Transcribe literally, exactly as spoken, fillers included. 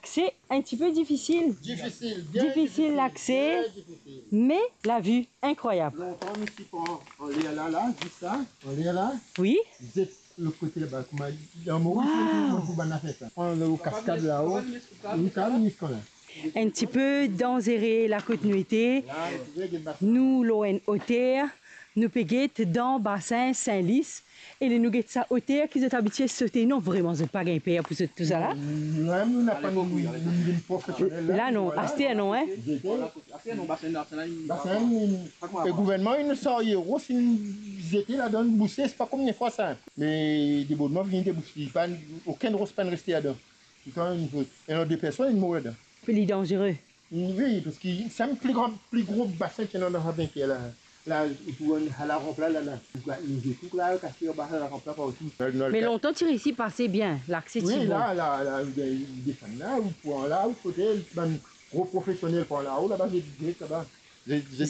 C'est un petit peu difficile. Difisil, bien difisil lakse, bien difisil. Me lavi inkrwayab. Lontan nou ti pran anler la, la, zis la, anler la. Wi. Zet lot kote laba, kouma dan mo, waw, pou bann zafer sa. Pran lo kaskad lao, ou kav zis kouma. Un petit peu danzere la kot nou ete. La, nou trouve get basen. Nou lor enn oter, nou pe get dan basin Sin Lis. E ler nou get sa oter ki zot abitie sote, non, vreman zot pa gagn per pou zot tousala? Nou mem, nou napa, nou, nou vinn profesionel la. La non, aster non, hein. Zete. Aster non, basin la, sa la, inn... Basin, inn, e gouvernman inn sarye ros, inn zete ladan, bouse, se pa kombien fwa sa. Me debordman vini debous, li pa, okenn ros pa'nn reste ladan. Touletan, inn, ena de personn inn mor ladan. Pli danzere. Wi, parski se enn pli gran, pli gro basin ki ena dan sa vinker la. La, ou trouv la ranp la, la, la. Nou zet tou la, kas anba la ranp la partou. Me lontan ti resi pase bien, lakse ti bon. Wi, la, la, la, ou desann la, ou pran la, ou kote, bann gro profesionel pran lao, laba, zet, zet laba. Zet, zet.